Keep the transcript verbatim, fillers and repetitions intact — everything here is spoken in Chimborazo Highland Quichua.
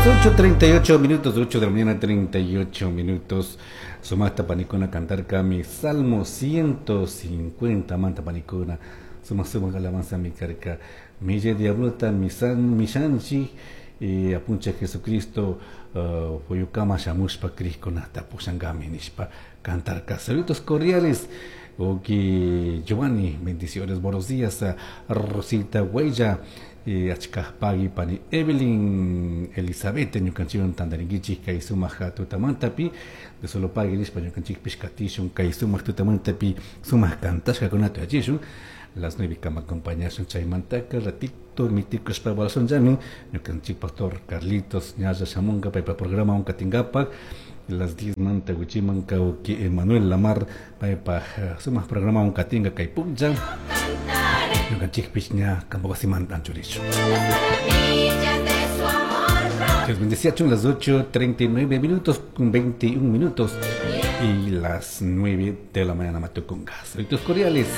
Las ocho treinta y ocho minutos, ocho de la mañana treinta y ocho minutos. Sumajta panicuna cantarcami Salmo ciento cincuenta manta panicuna. Sumaj sumaj alabanza mi carca. Mille diablota misan mishanchi y apunchij Jesucristo uh, puyukama shamushpa crijkunata pushangami nishpa cantarca. Saludos cordiales. Ok, Giovanni, bendiciones, buenos días a Rosita Huella, y achka pagui pani Evelyn Elizabeth, ñukanchikwan tantarinkichik kay sumaq tutamantapi de solo pagui nishpa ñukanchikpish katishun kay sumaq tutamantapi sumaq kantashkakunata yachishun las nueve kama acompañashun. Chaymantaka ratito mitikushpa llami ñukanchik pastor Carlitos ñalla shamunka paypa programa katinkapak. Las diez manta wichiman kawki Emanuel Lamar paypa sumaq programa katinka kay puncha. Ñukanchikpish ña kampak wasimanta anchurishun. Dios bendecía las ocho treinta y nueve minutos con veintiún minutos y las nueve de la mañana matukunga. Saludos cordiales.